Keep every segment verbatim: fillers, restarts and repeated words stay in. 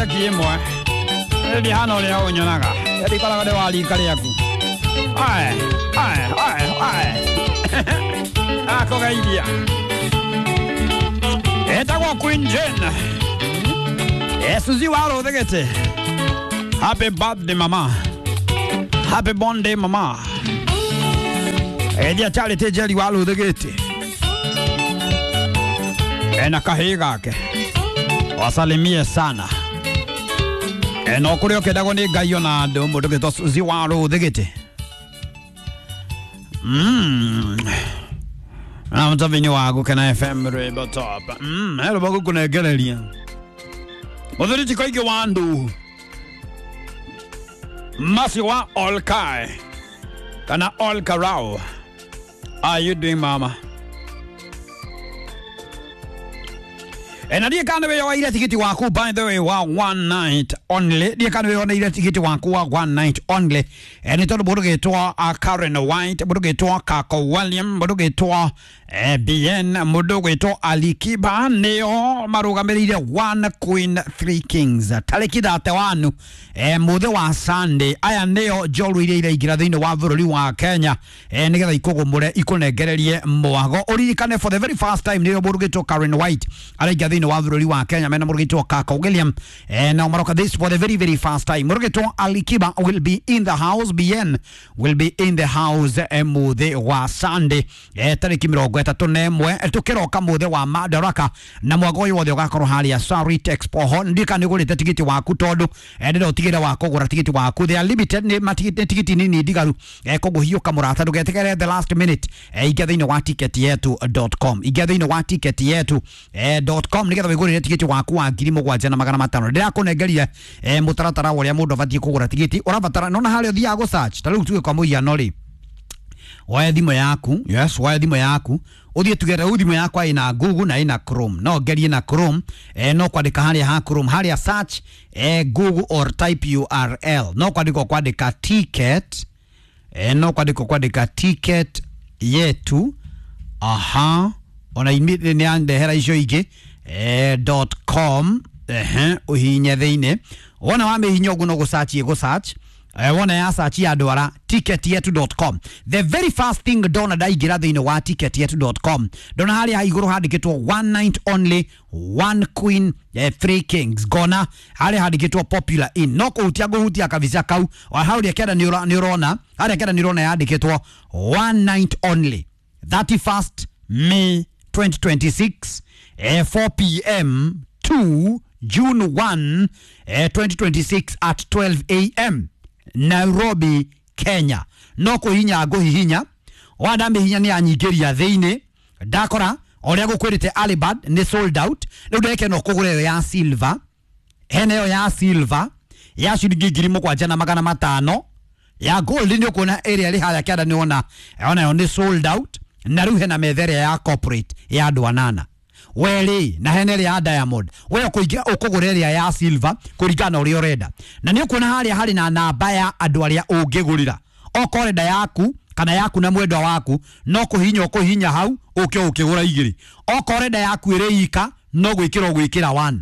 Imwe ndihana ũrĩa ũnyonaga ndikoragwo ndĩ wa rika rĩaku. Ae ae ae ae akũgeithia etagwo Queen Jane Suzy wa Rũthĩgĩtĩ. Happy birthday mama, happy birthday mama. Geithia Charity Njeri wa Rũthĩgĩtĩ ena kahĩĩ gake, wasalimie sana eno kũrĩa ũkĩendagwo nĩ Ngai ona andũ mũndũ gĩtwo Suzy wa Rũthĩgĩtĩ. Mm. Na mtavinyi wa Gũkena F M rwĩmbo top. Mm, he rwĩmbo ngũkũnengereria. Mũthuri ti koingĩ wa andũ Masi wa Olkai kana Olkarau. How you doing mama? Ena ndiä kana wä yoire tigiti waku by the way wa one night only ndiä kana wä yoire tigiti waku wa one night only e nä tondå må ndå gä two Karen White, må ndå gä two Kako William, må ndå gä two B N, må ndå gä two Alikiba nä o marå gamä rä ire One Queen Three Kings tarä ki thate wanu e må thä wa Sunday. Aya nä o njoru iria iraingä ra thä inä wa bå rå ri wa Kenya e nä getha ikå gå må re ikå nengererie mwago å ririkane for the very first time nä o må ndå gä two Karen White araingä thä wa bũrũri wa Kenya mena mũrũgĩtwo Kako William eh, na maroka this for the very very first time. Mũrũgĩtwo Alikiba will be in the house, B N will be in the house eh, mũthĩ wa Sunday eh, tarĩki mĩrongo ĩtatũ na ĩmwe tũkĩroka mũthĩ wa Madaraka na mwago ũyũ wothe ũgakorwo harĩa Sarit Expo Hall. Ndika nĩ ũgũrĩte tigiti waku tondũ eh, ndĩrenda ũtigĩre wa kũgũra tigiti waku, they are limited, nĩ matigiti tigiti nini ndigaru eh, koguo hiũka mũrata ndũgetigĩre the last minute eh, ingia thĩinĩ wa ticket yetu dot com, ingia thĩinĩ wa ticket yetu eh, dot com nigetha wigurire tigiti waku wa ngiri mugwanja na magana matano. Ndirakunengeria eh, mutaratara wa uria mundu abatie kugura tigiti urabatara nona haria uthiaga gu search ta riu tuge kwa muhiano ri woe thimu yaku, yes, woe thimu yaku uthie tuge riu thimu yakwa ina Google na ina Chrome, no ngerie na Chrome eh, no kwandika haria ha Chrome haria search eh, Google or type U R L no kwandika kwandika ticket eh, no kwandika kwandika ticket yetu aha ona immediately ni andehera icio ingĩ eh, dot com ehe uhinye thiini wona wa mihinya uguo no gusearch gu search eh, wona ya search ya ndwara ticket yetu dot com. The very first thing ndona ndaingira thiini wa ticket yetu dot com ndona haria iguru handikitwo one night only one queen eh, three kings ngona haria handikitwo popular in no kuhutia nguhutia kabisa kau wa haria kenda ni urona haria kenda ni urona yandikitwo one night only thirty-first May twenty twenty-six eh, four p m to June first eh, twenty twenty-six at twelve a m Nairobi, Kenya. No kuhinya nguhihinya wanda mihinya ni anyingĩria thĩinĩ ndakora ũrĩa gũkwĩrĩte Alibad nĩ sold out rĩu ndeke no kũgũra ĩyo ya silver hena ĩyo ya silver ya ciringi ngiri mũgwanja na magana matano ya gold nĩ ũkuona ĩrĩa ĩrĩ harĩa kĩanda nĩ wona ona yo nĩ sold out na rĩu hena metha ĩrĩa ya corporate ya andũ anana weri na hena ĩrĩa ya diamond we ũkũingĩra ũkũgũra ĩrĩa ya silver kũringana na ũrĩa ũrenda na nĩ ũkuona harĩa harĩ na namba ya andũ arĩa ũngĩgũrĩra okorwo ũrenda yaku kana yaku na mwendwa waku no kũhinya ũkũhinya hau ũke ũkĩgũra igĩrĩ okorwo ũrenda yaku ĩrĩ ika no gwĩkĩra ũgwĩkĩra one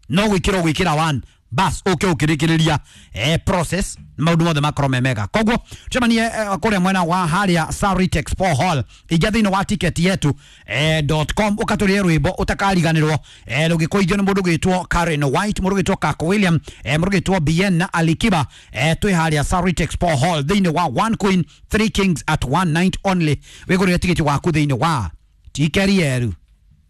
no gwĩkĩra ũgwĩkĩra one bas ũke ũkĩrĩkĩrĩria eh, process maundu mothe makorwo me mega koguo tucemanie eh, kuria mwena wa haria Sarit Expo Hall ingia thiini wa ticket yetu eh, .com ukaturie rwimbo utakariganirwo eh, rugikuithio ni mundu gwitwo Karen White, mundu gwitwo Kako William eh, mundu gwitwo B N na Alikiba eh, twi haria Sarit Expo Hall thiini wa One Queen Three Kings at one night only wigurire tigiti waku thiini wa ticket yetu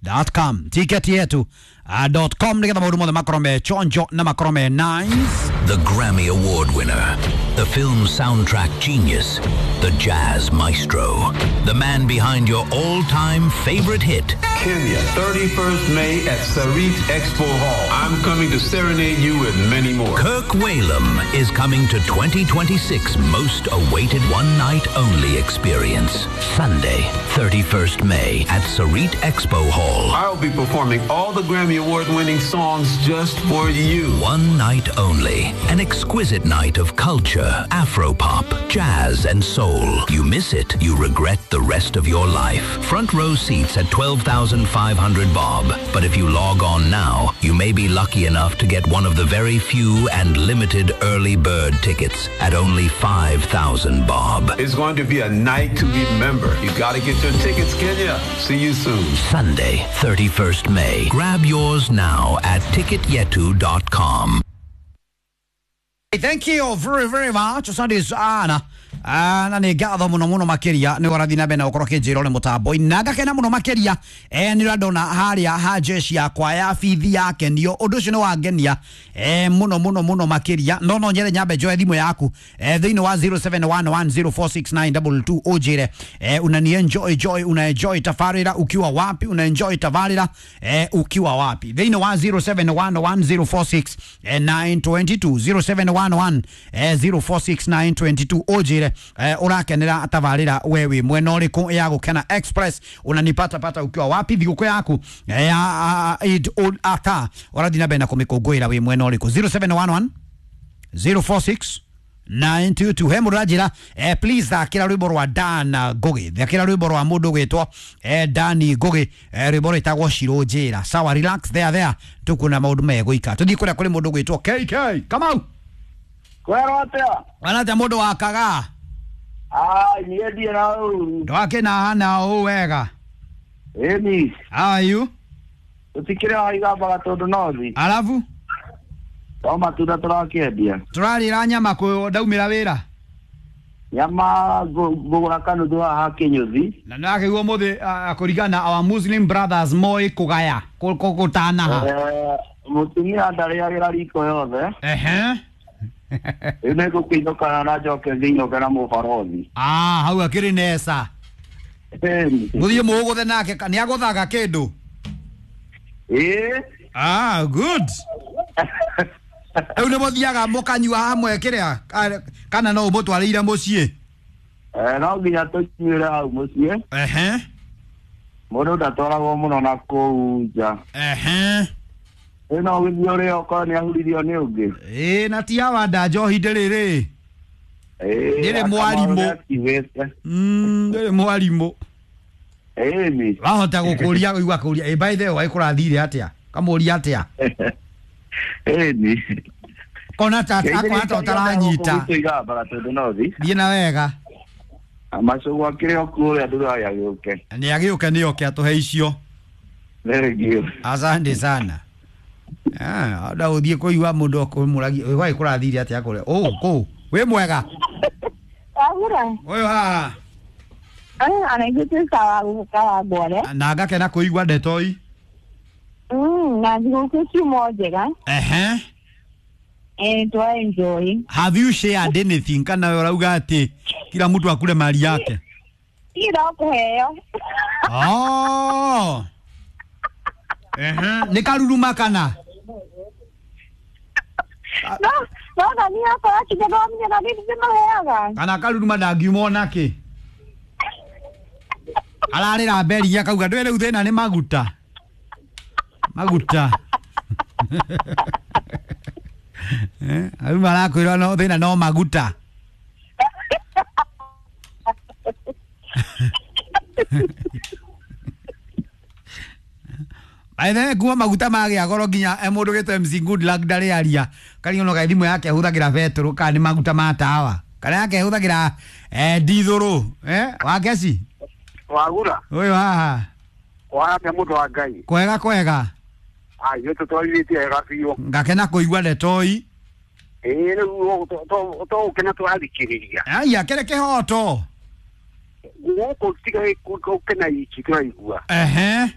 dot com ticket yetu uh, dot com nigetha maundu mothe makorwo me chonjo na makorwo me nice. The Grammy Award winner, the film soundtrack genius, the jazz maestro, the man behind your all-time favorite hit. Kenya, thirty-first May at Sarit Expo Hall. I'm coming to serenade you with many more. Kirk Whalum is coming to twenty twenty-six most awaited one-night-only experience. Sunday, thirty-first May at Sarit Expo Hall. I'll be performing all the Grammy Award-winning songs just for you. One night only. An exquisite night of culture, afropop, jazz and soul. You miss it, you regret the rest of your life. Front row seats at twelve thousand five hundred bob. But if you log on now, you may be lucky enough to get one of the very few and limited early bird tickets at only five thousand bob. It's going to be a night to remember. You gotta get your tickets, Kenya. See you soon. Sunday, thirty-first May. Grab yours now at ticket yetu dot com. Thank you very very much. Asante sana. Ah, na nä ngatho må no må no makä ria nä årathiä na mbere na gå korwo kä njä ra å rä må tambo na ngakena må no makä ria nä å ndona harä a ha jeshi yakwa ya bithi yakenio å ndå å cio nä wangenia må no må no må no makä ria no no nyere nyambe njoe thimå yaku thä inä wa zero seven one one zero four six nine two two å njä re unani enjoy joy una enjoy tabarä ukiwa wapi una enjoy tabarä ukiwa wapi thä inä wa zero seven one one zero four six nine two two zero seven one one zero four six nine two two å njä re urakenera tabarira we wi mwena uriku ya Gukena Express unanipata pata ukiwa wapi thiguku yaku ya Eid ul Adha urathi na mbere na kumikungũĩra wi mwena uriku zero seven one one zero four six nine two two he mũndũ aranjĩra eh, please thakĩra rwĩmbo rwa Dan Ngugi thakĩra rwĩmbo rwa mũndũ ũgwĩtwo eh, Dan Ngugi eh, rwĩmbo rwĩtagwo Shirũ Njĩra sawa relax there there tukuona maũndũ megũika tũthiĩ kũrĩa kũrĩ mũndũ ũgwĩtwo K K Kamau Kwero atia wanatia mũndũ wakaga Ah, niĩ ndiĩ na ũru. Ndwakĩna hana ũũ wega. Ĩni. How are you? Tũtikĩrĩ haha igambaga tondũ nothi. Alafu? No matunda tũrakĩendia. Tũrarĩra nyama kũ ndaumĩra wĩra. Nyama ngũgũra kanuthu haha Kĩnyũthi. Na nĩwakĩigua ũmũthĩ kũringana our Muslim brothers moĩ kũgaya gũtanaha. Mũtumia ndarĩagĩra riko yothe. Ehe. Rĩu nĩngũkĩinũkana na njoke ngĩinũke na mũbarothi. Ah, hau akĩrĩ nesa. Mũthiĩ mũgũthe nake nĩ agũthaga kĩndũ? Ĩĩ. Ah, good. Rĩu nĩ mũthiaga mũkanyua hamwe kĩrĩa kana no ũmũtwarĩire mũciĩ? Eh, no nginya tũnyuĩre hau mũciĩ. Ehe. Mũndũ ndatwaragwo mũno na kũu nja. Ehe. Ĩno gũthiĩ ũrĩa okorwo nĩ ahuririo nĩ ũngĩ. Ĩĩ na ti awa nda njohi ndĩrĩ rĩ. Ndĩrĩ mwarimũ. Mm, ndĩrĩ mwarimũ. Ĩni. Wahota gũkũria igua kũria. Ĩ by the way kũrathire atĩa? Kamũria atĩa? Ĩni. Kona ta akwa ta ũtaranyita. Thiĩ na wega. Macũgwa akĩrĩ o kũrĩa ndũraya agĩũke. Nĩ agĩũke nĩ oke atũhe icio. Thank you. Asante sana. Ah, nda uthie kuigua mundu akumuragia wai kurathire atia kure oh ku wi mwega Wagura uyu haha ah ana igute sawa guka ngore na ngakena kuigua ndetoi mm na thiguku kiumo njega ehe eh twa enjoy. Have you shared anything kana we urauga ati kila mtu akule mali yake? Ira kuheo. Oh ehe ni karuruma kana No, no, na ni akora kithomia na ni ndimaheaga. Kana karuruma ndangiuma onake. Ararĩra mberi akauga ndwe rĩu thĩna nĩ maguta. Maguta. Eh, au marakwĩrwo no thĩna no maguta. By the way, kuma maguta magĩa goro nginya mũndũ gĩtwo M C Good Luck ndarĩ aria kariono ga thimũ yake ahũthagĩra betũrũ kana nĩ maguta ma tawa kana yake ahũthagĩra eh dithũrũ eh wakeci wagura ũyũ haha waramia mũndũ wa Ngai kwega kwega ayo tũtwarithĩtie wega biũ ngakena kũigua ndetoi ĩĩ rĩu tũgũkena tũrathikĩrĩria aya kĩrĩ kĩhoto gũkũ tiga gũkena iki tũraigua ehe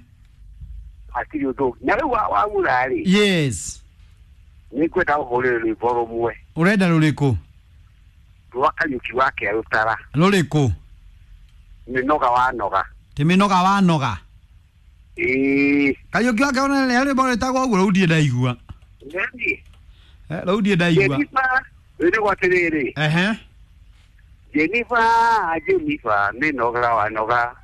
hatirĩ ũndũ na rĩu wagura rĩ yes nĩ ngwenda ũhũrĩre rwĩmbo rũmwe ũrenda rũrĩkũ rwa Kariũki wa Kĩarũtara rũrĩkũ mĩnoga wanoga ti mĩnoga wanoga ĩĩ Kariũki wa Kĩarũtara rwĩmbo rwĩtagwo ũguo rũu ndirĩ ndaigua rũu ndirĩ ndaigua rwĩrĩgwo atĩrĩrĩ ehe Jennifer Jennifer mĩnoga wanoga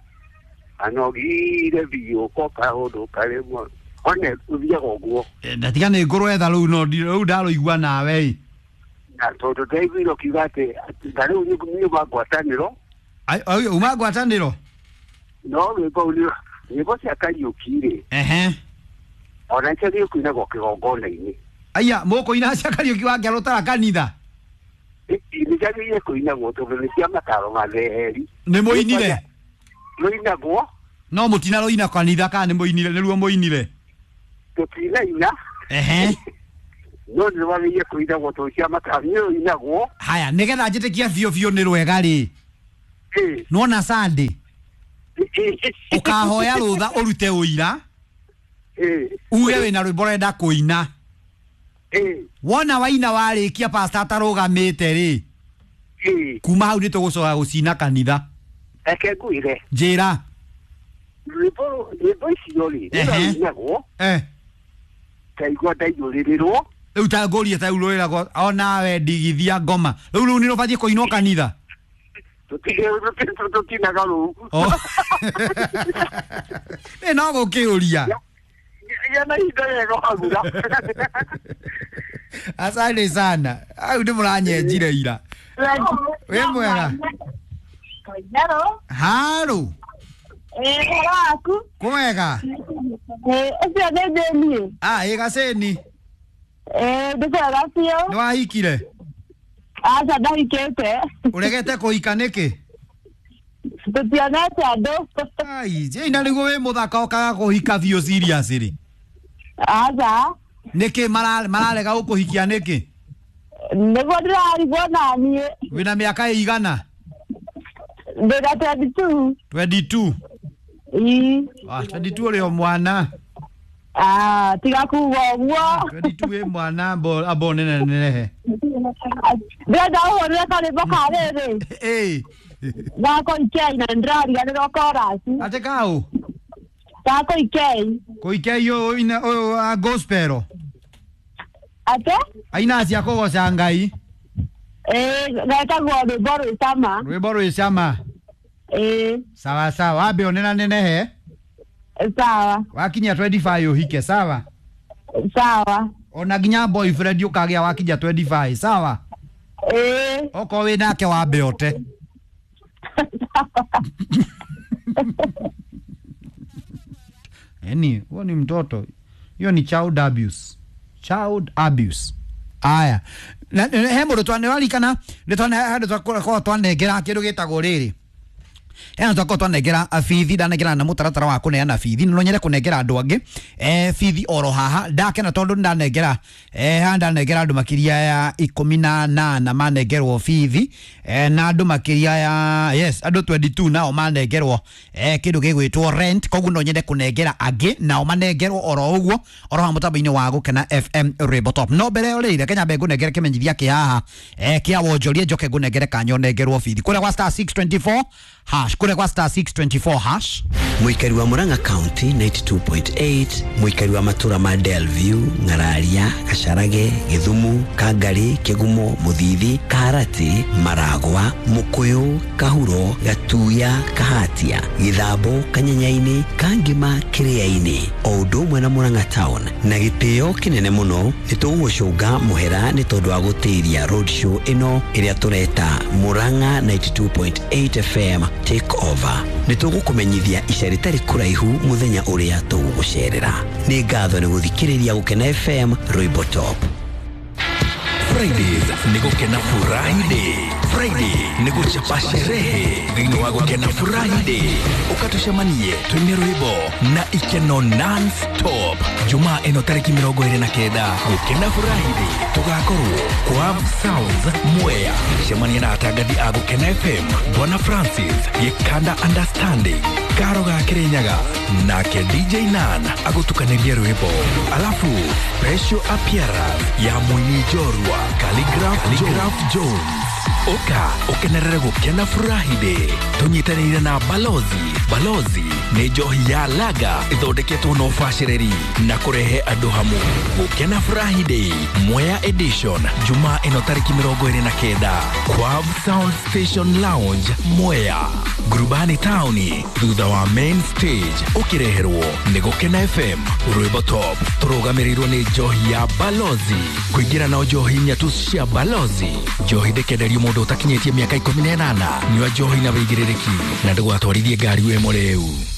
anogire biũ ko kaũndũ karĩmwe one ũthiaga ũguo ndatiga nĩ ngũrwetha rũu no rũu ndarũigua nawe Na tondũ ndaiguire ũkiuga atĩ ta rĩu nyuma ngwatanĩro. Ai uma ngwatanĩro? No rwĩmbo nĩ nyĩmbo cia Kariũki rĩ. Ehe. Ona nĩcio kũinagwo kĩgongona-inĩ. Aya mũkũina cia Kariũki wa Ngerũtara kanitha? Nĩ ciagĩrĩire kũinagwo tondũ nĩ cia mataro matheri. Nĩ mũinire? Rũinagwo. No mũtina rũina kanitha kana nĩ mũinire nĩruo mũinire? Tũtinaina. Ehe. No nĩ wagĩrĩire kũinagwo tondũ cia mataro nĩ rũinagwo. Haya nĩgetha njĩtĩkie biũ biũ nĩ rwega rĩ. Nĩwona Sunday? Ũkahoya rũtha ũrute ũira. Uge wĩna rwĩmbo ũrenda kũina. Wona waina warĩkia pastor atarũgamĩte rĩ. Kuma hau nĩ tũgũcoka gũcina kanitha. Reke ngwĩre. Njĩra. Rwĩmbo rwĩmbo icio rĩ nĩrũinagwo. Eh. Ndaigua ndaiyũrĩrĩrwo. Rĩu ta ngũrie ta rĩu rwĩragwo onawe ndigithia ngoma. Rĩu rũu nĩ rũbatiĩ kũinwo kanitha? Tũtinaga rũu. Ĩ no gũkĩũria. Yana ihinda rĩega wagura. Asante sana. Au nĩ mũranyenjire ira. Wĩ mwega? Hello. Haro. Eh, ũhoro waku? Kwega. Eh, ũcio nĩ Jane. Ah, ĩ Gaceni. Eh, ndĩ kwega biũ. Nĩ wahikire? Aca ndahikĩte. Ũregete kũhika nĩkĩ? Tũtionete andũ. Ai, Jane na nĩguo wĩ mũthaka ũkaga kũhika biũ serious rĩ. Aca. Nĩkĩ mararega gũkũhikia nĩkĩ? Nĩguo ndĩrarigwo naniĩ. Wĩna mĩaka ĩigana? Ndĩna twenty-two. twenty-two? Ĩĩ. Ah, twenty-two ũrĩ o mwana. Ah, tiga kuga ũguo. twenty-two wĩ mwana amba nene nenehe. Ndĩrenda ũhũrĩre karwĩmbo ka rĩrĩ. Ĩĩ. Gako Ikei na nĩndĩrariganĩrwo chorus. Atĩ kaũ? Gako Ikei. Koikei ũyũ ũyũ wa gospel. Atĩ? Aina cia kũgoca Ngai. Ĩĩ, getagwo rwĩmbo rwĩ cama. Rwĩmbo rwĩ cama. Ĩĩ. Sawa sawa, wambe onena nenehe. Sawa. Wakinya twenty-five ũhike, sawa? Sawa. Ona nginya boyfriend ũkagĩa wakinya twenty-five, sawa? Ĩĩ. Okorwo wĩ nake wambe ũte. Yaani, huo ni mtoto. Hiyo ni child abuse. Child abuse. Aya. He mũndũ twanewarikana nĩ twane twakorwo twanengera kĩndũ gĩtagwo rĩrĩ. Ena twakorwo twanengera bithi ndanengera na mũtaratara wa kũneana bithi no nyende kũnengera andũ angĩ eh bithi oro haha ndakena tondũ ndanengera eh haha ndanengera andũ makĩria ya ikũmi na nana manengerwo bithi eh na andũ makĩria ya yes andũ twenty-two nao manengerwo eh kĩndũ gĩgwĩtwo rent koguo no nyende kũnengera angĩ nao manengerwo oro ũguo oro haha mũtambo-inĩ wa Gũkena F M Rainbow Top no mbere ĩyo rĩ reke nyambe ngũnengere kĩmenyithia kĩ haha eh kĩa wonjoria njoke ngũnengere kanya ũnengerwo bithi kũrĩa gwa star six twenty-four hash kũrĩa gwa star six twenty-four hash. Mũikari wa Murang'a County ninety-two point eight, mũikari wa matura ma Delview, Ng'araria, Gacharage, Githumu, Kangari, Kigumo, Muthithi, Kaharati, Maragwa, Mukuyu, Kahuro, Gatuya, Kahatia, Githambo, Kanyenyaini, Kangima, Kiriaini, o ũndũ ũmwe na Murang'a Town na gĩtĩo kĩnene mũno nĩ tũgũgũcũnga mũhera nĩ tondũ wa gũtĩria road show ĩno ĩrĩa tũreta Murang'a ninety-two point eight F M take over. Nĩ tũgũkũmenyithia ica rĩtarĩ kũraihu mũthenya ũrĩa tũgũgũcerera. Nĩ ngatho nĩ gũthikĩrĩria Gũkena F M Rwĩmbo Top. Fridays ni Gũkena Furahi Day. Friday ni gũchapa sherehe thĩinĩ wa Gũkena Furahi Day. Ũkatũcemanie twĩne rwĩmbo na ikeno non-stop. Jumaa ĩno tarĩki mĩrongo ĩrĩ na kenda Gũkena Furahi Day tũgakorwo kwa Sounds Mwea. Cemania na atangathi a Gũkena F M Bwana Francis Gĩkanda Understanding Karo ga Kirinyaga nake D J Nan agũtukanĩrie rwĩmbo alafu special appearance ya mũini njorua Calligraph Jones. Ũka ũkenerere gũkena furahi day tũnyitanĩire na Balozi. Balozi nĩ njohi ya laga ĩthondeketwo na ũbacĩrĩri na kũrehe andũ hamwe. Gũkena furahi day Mwea edition, Jumaa ĩno tarĩki mĩrongo ĩrĩ na kenda, Quav Sound Station Lounge, Mwea, Ngurubani taũni, thutha wa main stage. Ũkĩreherwo nĩ Gũkena F M, rwĩmbo top, tũrũgamĩrĩirwo nĩ njohi ya Balozi. Kũingĩra na njohi inya tu cia Balozi. Njohi ndĩkenderio mũndũ ũtakinyĩtie mĩaka ikũmi na ĩnana. Nyua njohi na wĩigĩrĩrĩki na ndũgatwarithie ngari wĩ mũrĩu.